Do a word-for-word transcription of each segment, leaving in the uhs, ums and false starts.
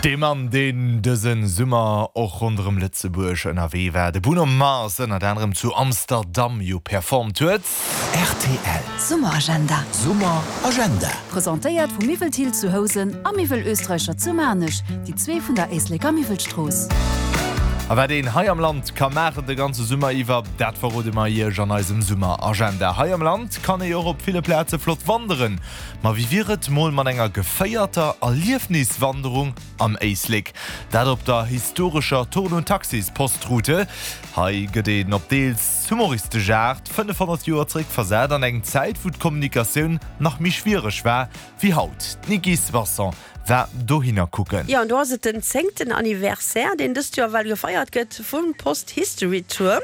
Dee Mann, deen dëse Summer och ronderëm Lëtzebuerg ënnerwee war, de Bruno Mars, ënnert anerem zu Amsterdam jo performt huet. Rtl. Summeragenda. Summeragenda. Presentéiert vu Miwwel Thill zu Housen a Miwwel Österreicher zu Maarnech, déi zwee vun der Éisleker Miwwelstrooss. A wat een hei am Land ka maachen de ganze Summer iwwer, dat verrode mer Iech an eisem Summeragenda. Hei am Land kann ee och op ville Plaze flott wanderen. Ma wéi wier et mol mat enger geféierter Erliefniswanderung am Éislek? Dat op der historescher Thurn und Taxis Postroute. Hei gëtt een op deels humoristesch Aart fënnefhonnert Joer zeréckversat an eng Zäit, wou d'Kommunikatioun nach méi schwiereg war wéi haut. D'Niki Soisson war dohinner kucken. Jo, an do ass et den zéngten Anniversaire, deen dëst Joer well gefeiert gëtt vum Post History Tour.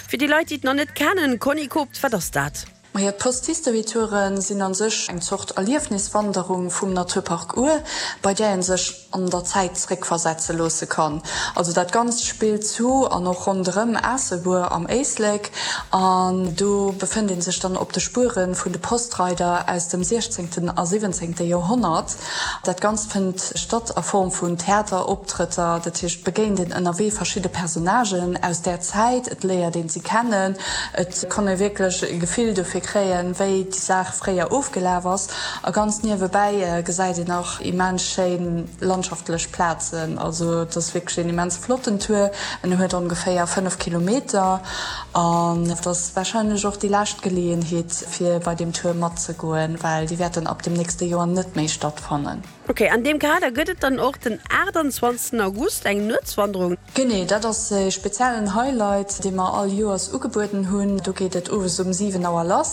Fir déi Leit, déi et nach net kennen, Conny Koopt, wat ass dat? Majo, d'Post History Touren sinn an sech eng Zort Erliefniswanderung vum Naturpark Our, bei där een sech an der Zäit zeréckversetze loosse kann. Also dat Ganzt spillt zu an och ronderëm Aasselbuer am Éislek an do befënnt een sech dann op de Spuere vun de Postreider aus dem siechzéngten a siwwenzéngte Joerhonnert. Dat Ganzt fënnt statt a Form vun Theateroptrëtter, dat heescht et begéint een ënnerwee verschidde Personnagen aus där Zäit, et léiert een si kennen, et kann ee wierklech e Gefill dofir kréien, wéi déi Saach fréier ofgelaf ass. A ganz niewebäi gesäit een och immens schéin landschaftlech Plazen. Also et ass wierklech een immens flotten Tour. En huet ongeféier fënnef Kilometer an et ass warscheinlech och déi lescht Geleeënheet, fir bei deem Tour matzegoen, well déi wäerten ab dem nächste Joer net méi stattfannen. Ok, an deem Kader gëtt et dann och den aachtanzwanzegsten August eng Nuetswanderung. Genee, dat ass e speziellen Highlight, dee mer all Joers ugebueden hunn. Do geet et owes um siwen Auer lass.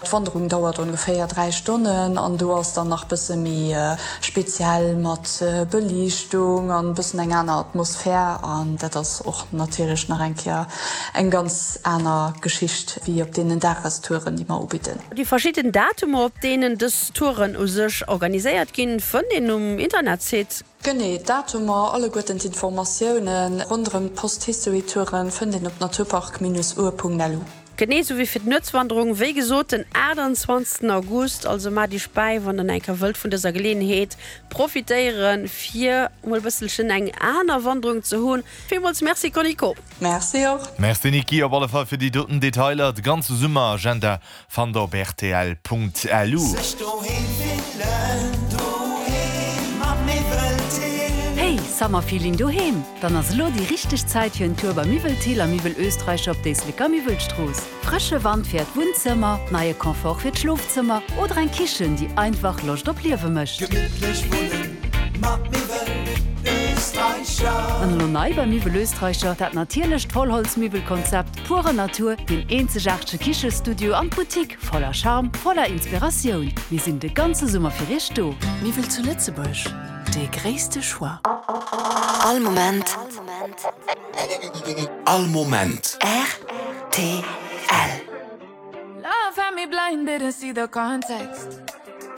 D'Wanderung dauert ongeféier dräi Stonnen an do ass dann nach bësse méi speziell mat Beliichtung an bëssen eng aner Atmosphär an dat ass och natierlech nach eng Kéier eng ganz aner Geschicht wéi op deenen Dagestouren, déi mer ubidden. Déi verschidden Datumer, op deenen dës Touren u sech organiséiert ginn, fënnt een um Internetsite. Genee, d'Datumer, alleguerten d'Informatioune ronderëm d'Post-History-Touren fënnt een op naturpark-our.lu. Genee sou wéi fir d'Nuetswanderung, wéi gesot den aachtanzwanzegsten August. Also maacht iech bäi, wann der eng Kéier wëllt vun dëser Geleeënheet profitéieren, fir mol e bësselchen eng aner Wanderung ze hunn. Villmools Merci Conny Koop. Merci och. Merci Niki, op alle Fall fir déi doten Detailer. De ganze Summeragenda fannt der op rtl.lu. Sech doheem fillen, doheem mat Miwwel Thill. Hey, Summerfeeling doheem? Dann ass elo déi richteg Zäit fir en Tour bei Miwwel Thill a Miwwel Österreicher op d'Éisleker Miwwelstrooss. Frësche Wand fir äert Wunnzëmmer, neie Confort fir d'Schlofzëmmer oder eng Kichen, déi einfach Loscht op Liewe mécht. Gemittlech wunnen mat Miwwel Österreicher. An elo nei bei Miwwel Österreicher, dat natierlecht Vollholzmiwwelkonzept, pure Natur, deen eenzegaartege Kichestudio an d'Boutique, voller Charme, voller Inspiratioun. Mir sinn de ganze Summer fir iech do. Miwwel zu Lëtzebuerg, dee gréisste Choix. All Moment. All Moment. Rtl. Love had me blind, didn't see the context.